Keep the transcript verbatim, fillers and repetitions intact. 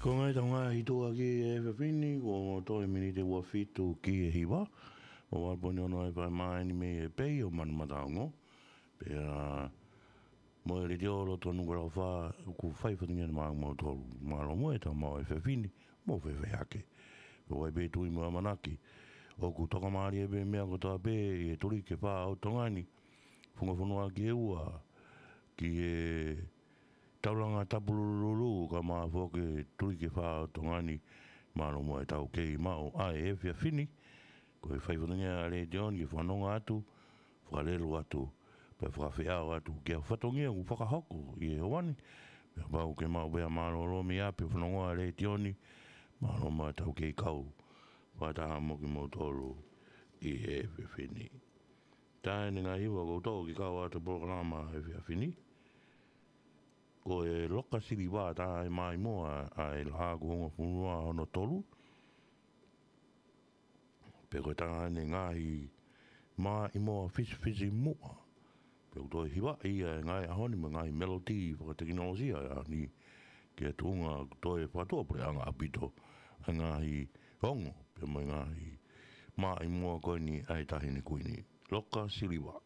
Ko e ngaahi tau ngaahi tuʻa ki he efiafi ni, kuo toe miniti ua fitu ki he hiva. Mo valu poini ono e fai mai ni mei he pei ʻo Manumataongo. Pea mo e letiō loto Nukuʻalofa, ʻoku fai fatongia ni maʻa moutolu. Mālō mo e tau maʻu efiafi ni, mo fefehake. Ko e pē tui mo e ʻamanaki. ʻOku tokamālie pē meʻa kotoa pē, ʻi he tuliki ʻe fā ʻo Tonga ni. Funga fonua ki he ua, ki he taulanga tapulululu, ka mafoke tuliki ʻe fā ʻo Tonga ni, mālō mo e tau kei maʻu ʻa e efiafi ni. Ko e fai fatongia ʻa e letiō ni ke fanongo atu, fakalelu atu, pea fakafeʻao atu ki ha fatongia ʻoku fakahoko ʻi he ʻaho ni. Pea kapau ʻoku ke maʻu pē ha mālōlō mei ʻapi ʻo fanongo ʻa e letiō ni, mālō mo e tau kei kau fakataha mo kimoutolu ʻi he efiafi ni. Tā eni ngaahi hiva kuo toʻo ke kau atu polokalama efiafi ni. Ko e Loka Siliva, tā e maʻimoa ʻa e laʻā kuo hongofulu mā hono tolu. Pea ko e tā eni ngaahi maʻimoa fisifisimuʻa. Pea ʻoku toe hivaʻi ʻa e ngaahi ʻaho ni mo e ngaahi melody fakatekinolosia ʻa e ʻaho ni. Ke tuʻunga ʻoku toe fakatuʻapuleʻanga ʻaupito ʻa e ngaahi ongo, pea mo e ngaahi maʻimoa ko eni ʻa e Taʻahine Kuini. Loka Siliva.